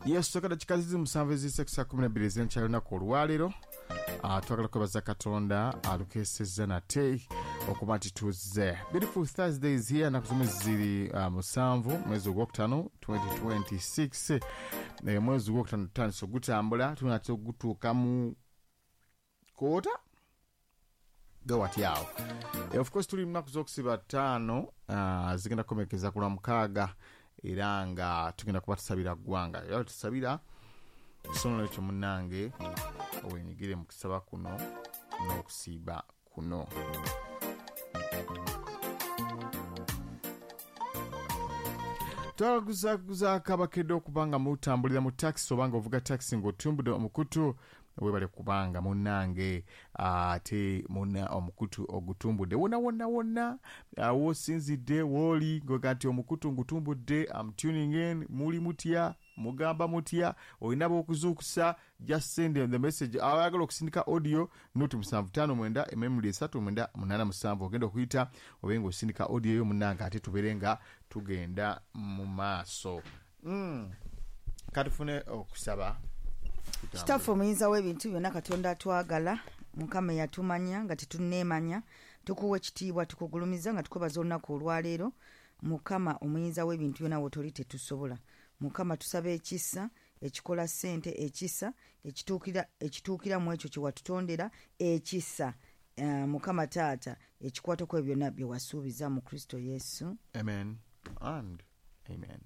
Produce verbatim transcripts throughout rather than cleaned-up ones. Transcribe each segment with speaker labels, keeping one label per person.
Speaker 1: Yes, soka dakika zizi musanvu eziyise ku ssaawa kkumi na bbiri ez'enkya y'olunaku olwaleero. Ah, twagala kwebaza Katonda alukeesezza nate okuba nti tuzze. Beautiful Thursday is here, ennaku z'omwezi ziri ah, musanvu mwezi ogwokutaano twenty twenty-six. Eh, mwezi ogwokutaano tutandise ogutambula, tunatera ogutuuka mu quarter gawati awo. Eh, of course tuli mu nnaku z'okusiba ttaano, ah, zigenda kukomekeza ku lwa mukaaga, era nga tugenda kuba tusabira ggwanga, era tusabira. So nolwekyo munnange, wenyigire mu kusaba kuno n'okusiiba kuno. Twalaguzaako abakedde okuba nga mutambulira mu takisi oba nga ovuga takisi ng'otumbudde omukutu. Webale kubanga munnange ate muna omukutu ogutumbudde wonna wonna wonna wosinzidde wooli ngoga nti omukutu ngutumbudde, am tuning in. Muli mutya? Mugamba mutya? Olina b'okuzuukusa, just send them the message. Abayagala okusindika audio note, musanvu ttaano mwenda emirundi esatu mwenda munaana musanvu, ogenda okuyita obe nga osindika audio yo munnange, ate tubeere nga tugenda mu maaso. mm. Katufune okusaba.
Speaker 2: Kitaffe omuyinza w'ebintu byonna, Katonda atwagala, Mukama eyatumanya nga tetunneemanya, tukuwa ekitiibwa, tukugulumiza nga tukwebaza olunaku olwaleero. Mukama omuyinza w'ebintu byonna, wotoli tetusobola. Mukama, tusaba ekisa ekikola ssente, ekisa ekituukira ekituukira mu ekyo kye watutondera, ekisa uh, Mukama taata ekikwatako ebyo byonna bye wasuubiza mu Kristo Yesu.
Speaker 1: Amen and amen.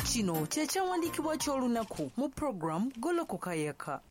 Speaker 3: Kino kye kyawandiikibwa ky'olunaku mu puroguramu Golokoka Yaka.